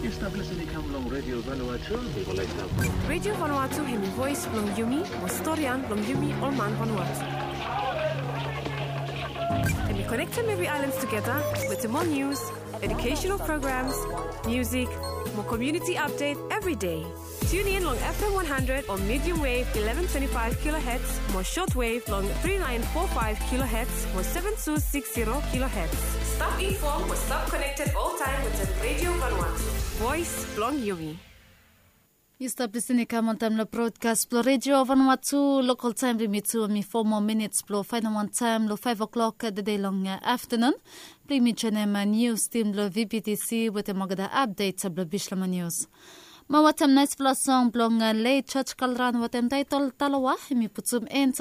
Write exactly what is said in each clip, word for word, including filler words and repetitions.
Stap lisin i kam long Radio Vanuatu. Mi go laik stap. Radio Vanuatu hemi voes blong yumi, mo storian blong yumi ol man Vanuatu. Hemi konektem evri aelan tugeta wetem ol nius, educational programs, musik, mo community update evri dei. Tune in long F M one hundred o medium wave eleven twenty-five kilohertz, mo short wave long three nine four five kilohertz, mo seven two six zero kilohertz. Stap informed mo stap connected oltaem wetem Radio Vanuatu. Voes blong yumi. Yu stap lisin i kam wantaem long brodkas blong Radio Vanuatu. Lokal taem blong yumi tu hemi foa moa minits blong faenem wantaem long faef o'klok tede long aftenun. Blong yumi joenem nius tim blong V B T C wetem olgeta apdet blong Bislama Nius. Mo wetem naesfala song blong Late George Kalran wetem taetol Taloa, hemi putum end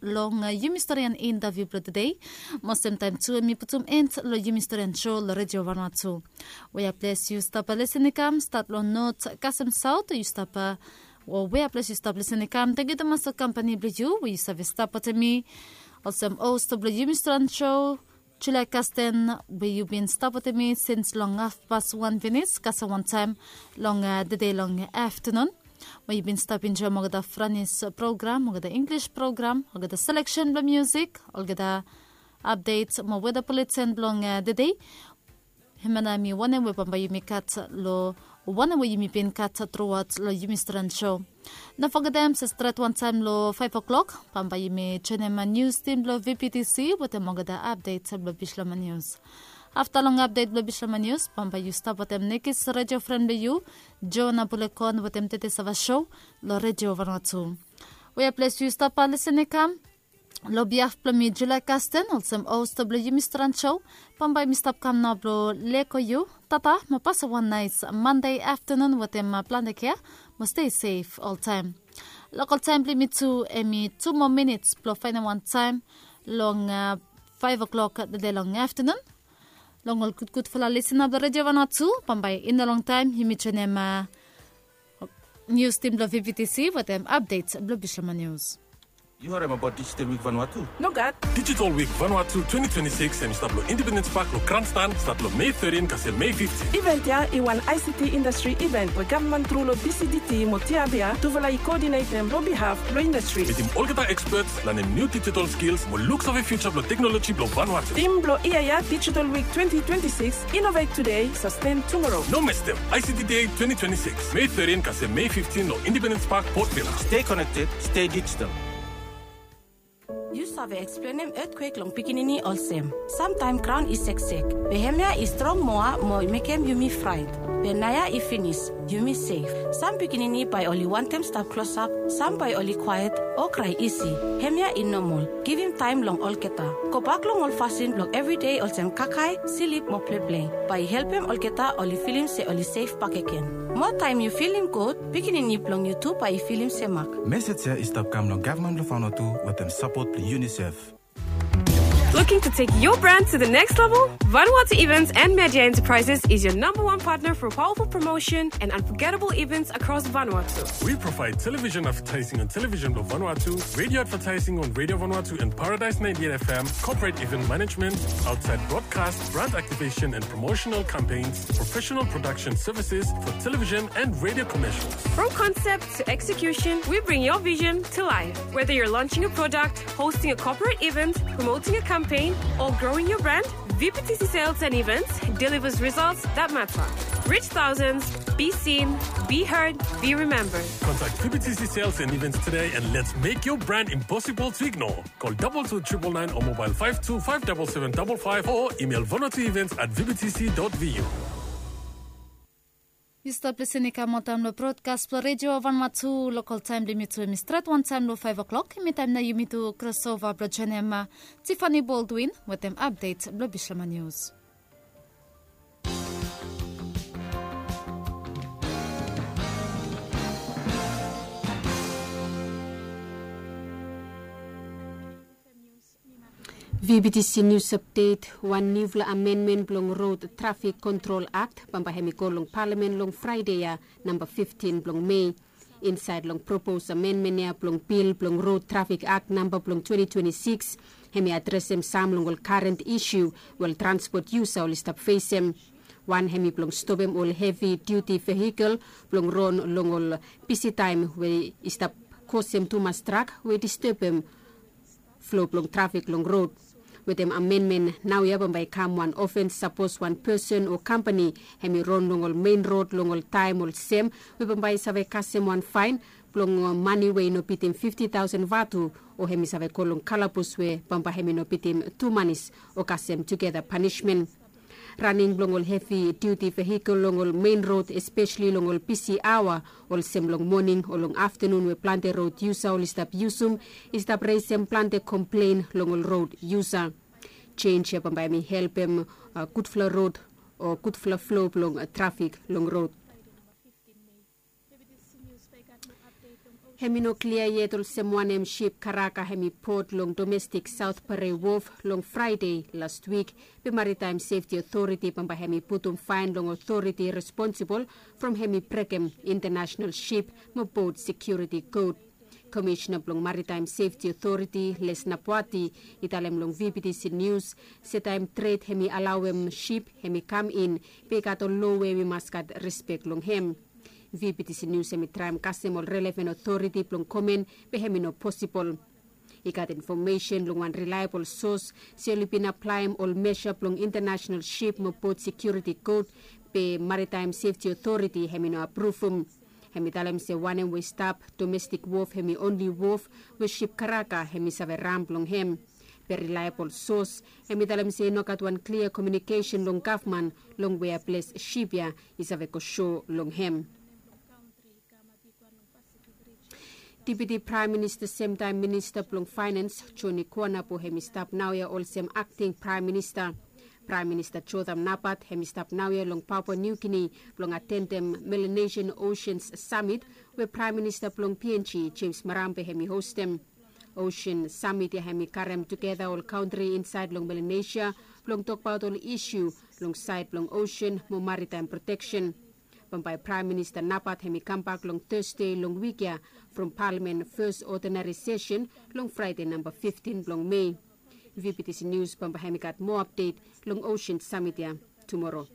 long yumi storian intaviu blong tede. Mo semtaem tu hemi putum end long yumi storian sou long Radio Vanuatu. We a ples yu stap lisin i kam, stat long not kasem saot yu stap, o we a ples yu stap lisin i kam, tangkiu tumas long kampani blong yu we yu save stap wetem mi olsem host blong yumi storian sou, Julia Kasten, we yu bin stap wetem mi sins long hafpas wan finis kasem wantaem long tede long aftenun. We yu bin stap enjoem olgeta Franis program, olgeta Inglis program, olgeta seleksen blong musik, olgeta apdet mo weda buleten blong tede. Hemia nao hemi wanem we bambae yumi gat long, wanem we yumi bin gat truaot long yumi storian sou. No fogetem se stret wantaem long faef o'klok bambae yumi joenem nius tim blong V B T C wetem olgeta apdet blong Bislama Nius. Afta long apdet blong Bislama Nius bambae yu stap wetem nekis radio fren blong yu, Joana Bulekon wetem Tete Sava Sou long Radio Vanuatu. We a ples yu stap lisin i kam, long biaf blong mi Julia Kasten olsem host blong yumi storian sou, bambae mi stap kam nao blong lego yu. Tata mo pasem wan naes Mande aftenun wetem plante kea, mo stei sef oltaem. Lokal taem blong yumi tu hemi tu moa minits blong faenem wantaem long faef o'klok tede long aftenun. Long ol gudgudfala lisina blong Radio Vanuatu, bambae i no longtaem yumi joenem nius tim blong V B T C wetem apdet blong Bislama Nius. Yu harem abaot Digital Week Vanuatu? Nogat. Digital Week Vanuatu twenty twenty-six hemi stap long Independence Park long Grandstand, stat long Mei thirteen kasem Mei fifteen. Event ya i wan I C T industry event we gavman tru long D C D T mo T R B R tufala i koodinetem long bihaf blong industry. Mitim olgeta experts, lanem niu digital skills mo luksave future blong teknoloji blong Vanuatu. Tim blong yia ya, Digital Week twenty twenty-six, innovate today, sustain tomorrow. No mestem, I C T Day twenty twenty-six, Mei thirteen kasem Mei fifteen long Independence Park, Port Vila. Stay connected, stay digital. Yu save eksplenem etkwek long pikinini olsem, samtaem graon i seksek, be hemia i strong moa mo i mekem yumi fraet. Be naoia i finis, yumi sef. Sam pikinini bae oli wantem stap klosap, sam bae oli kwaet o krae isi. Hemia i nomol. Givim taem long olgeta. Gobak long ol fasin blong evridei olsem kakae, slip mo pleple. Bae i helpem olgeta oli filim se oli sef bakegen. Moa taem yu filim gud, pikinini blong yu tu bae i filim semak. Mesej ya i stap kam long gavman blong Vanuatu wetem sapot blong UNICEF. Looking to take your brand to the next level? Vanuatu Events and Media Enterprises is your number one partner for powerful promotion and unforgettable events across Vanuatu. We provide television advertising on Television Vanuatu, radio advertising on Radio Vanuatu and Paradise ninety-eight F M, corporate event management, outside broadcast, brand activation and promotional campaigns, professional production services for television and radio commercials. From concept to execution, we bring your vision to life. Whether you're launching a product, hosting a corporate event, promoting a campaign, or growing your brand, V P T C Sales and Events delivers results that matter. Reach thousands, be seen, be heard, be remembered. Contact V P T C Sales and Events today and let's make your brand impossible to ignore. Call double two triple nine or mobile five two five double seven double five or email vanuatuevents at V P T C dot V U. Yu stap lisin i kam oltaem long brodkas blong Radio Vanuatu. Lokal taem blong yumi tu hemi stret wantaem long faef o'klok. Hemi taem nao yumi tu krosova blong joenem Tiffany Baldwin wetem apdet blong Bislama Nius. V B T C News Update. Wan niufala amenmen blong Road Traffic Control Act bambae hemi go long Palamen long Fraede ya, namba fiftin blong Mei. Insaed long propos amenmen ya blong bil blong Road Traffic Act namba blong twenty twenty-six, hemi adresem sam long ol karen isiu we ol transpot yusa oli stap fesem. Wan hemi blong stopem ol hevi diuti vehikel blong ron long ol bisi taem we i stap kosem tumas trak we i distebem flo blong trafik long rod. Wetem amenmen naoia bambae i kam wan ofens sapos wan pesen o kampani hemi ron long ol mein rod long ol taem olsem we bambae i save kasem wan faen blong mane we i no bitim fifti taosen vatu, o hemi save go long kalabus we bambae hemi no bitim tu manis o kasem tugeta panismen. Raning blong ol hevi diuti vehikel long ol mein rod espeseli long ol bisi aoa olsem long moning o long aftanun we plante rod yusa oli stap yusum i stap resem plante komplen long ol rod yusa. Jenj ya bambae hemi helpem gudfala rod o gudfala flo blong trafik long rod. Hemi no klia yet olsem wanem sip karaka hemi pot long domestik saot parei wof long fraede lastwik. Be maritaem sefti otoriti bambae hemi putum faen long otoriti responsibol from hemi brekem intanasenal sip mo bot sekiuriti kod. Komisena blong maritaem sefti otoriti les napuati i talem long vptc nius se taem tred hemi alaoem sip hemi kam in, be i gat ol lo we wi mas gat respek long hem. Vptc nius hemi traem kasem ol relevan otoriti blong komen be hemi no posibol. I gat infomesen long wan rilaebol sos se oli bin aplaem ol mesa blong intanasenal sip mo bot sekiuriti kod, be maritaem sefti otoriti hemi no apruvum. Hemi talem se wanem we i stap domestik wof hemi onli wof we sip karaka hemi save ram blong hem. Be rilaebol sos hemi talem se i no gat wan klia komiunikesen long gavman long wea ples sip ya i save go so long hem. Dipiti praem minista semtaem minista blong faenans joni kuanapo hemi stap naoia olsem akting praem minista. Praem minista jotham nabat hemi stap naoia long papua niu gini blong atendem melanesian oseans samit we praem minista blong png jems marambe hemi hostem. Osean samit ya hemi karem tugeta ol kantri insaed long melanesia blong tokbaot ol isu long saed blong osean mo maritaem proteksen. Bambae praem minista nabat hemi kambak long tasde long wik ya from palamen fes odinari sesen long fraede namba fiftin blong mei. Vptc nius bambae hemi gat moa apdet long osean samit ya tumoro.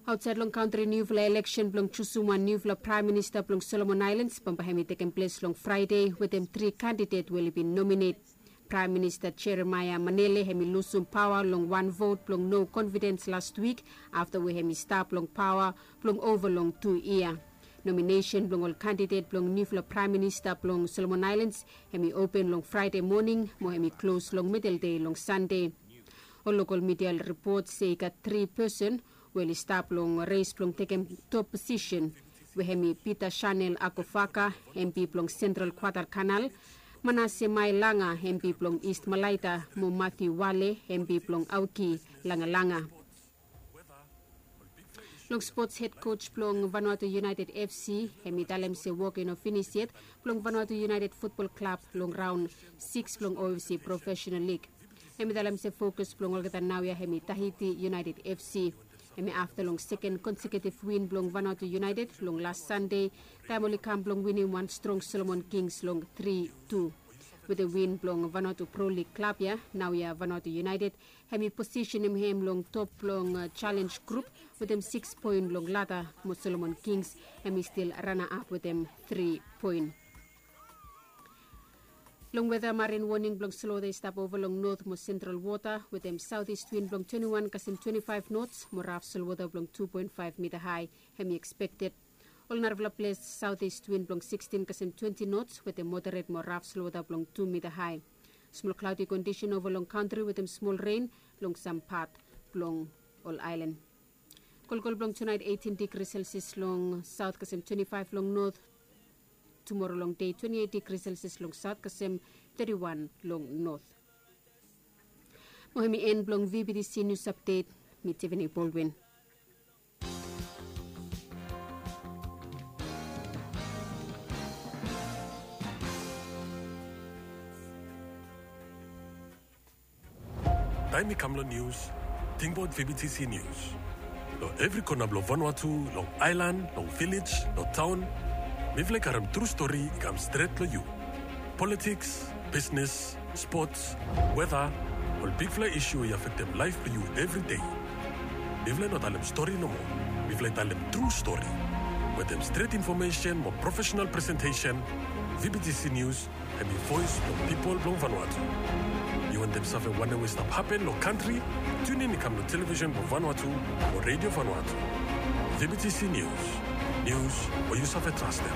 Aotsaed long kantri niufala eleksen blong jusum wan niufala praem minista blong solomon aelans bambae hemi tekem ples long fraede wetem tri kandidet we oli bin nominet. Praem minista jeremaia manele hemi lusum paoa long wan vot blong no konfidens lastwik afta we hemi stap long paoa blong ova long tu yia. Nominesen blong ol kandidet blong niufala praem minista blong solomon aelans hemi open long fraede moning mo hemi klos long midel dei long sande. Ol lokol midia oli ripot se i gat tri pesen we oli stap long res blong tekem top posisen we hemi pita chanel akofaka, hembi blong sentral kwadalkanal, manase mai langa, hembi blong ist malaita, mo matiu wale, hembi blong aoki langalanga. Long spots hed koj blong vanuatu united fc hemi talem se wok i no finis yet blong vanuatu united futbol klab long raon siks blong ofc profesenal lig. Hemi talem se fokus blong olgeta naoia hemi tahiti united fc. Hemi afta long seken konseketif win blong vanuatu united long las sande taem oli kam blong winim wan strong solomon kings long tri tu. Wetem win blong vanuatu pro lig klab ya naoia vanuatu united hemi posisenem hem long top blong jalenj grup wetem siks poen long lada mo solomon kings hemi stil rana ap wetem tri poen. Long weta marin woning blong slota i stap ova long not mo sentral wota wetem saotist win blong twenti wan kasem twenti faef nots mo raf solwota blong tu poen faef mita hae hemi ekspekted. Ol narafala ples saotist win blong sikstin kasem twenti nots wetem moderet mo raf solwota blong tu mita hae. Smol klaodi kondisen ova long kantri wetem smol ren long sam pat blong ol aelan. Kolkol blong tunaet eitin digri selsias long saot kasem twenti faef long not. Tumoro long dei twenti eit digri selsias long saot kasem teti wan long not. Mo hemi en blong vbtc nius apdet. Mi tivini bolwin. Taem i kam long nius, tingbaot vbtc nius. Long evri kona blong vanua tu long aelan long vilej long taon, mifala i karem tru stori i kam stret long yu. Politiks, bisnes, spots, weta, o Ol bigfala isu we i afektem laef blong yu evri dei. Mifala i no talem stori nomo. Mifala i talem tru stori. Wetem stret infomesen mo profesenal presentesen, V B T C News hem i voes blong pipol blong Vanuatu. Yu wantem save wanem we i stap hapen long kantri? Tiunin i kam long televisen blong Vanuatu o redio Vanuatu. V B T C News. Nius we yu save trastem.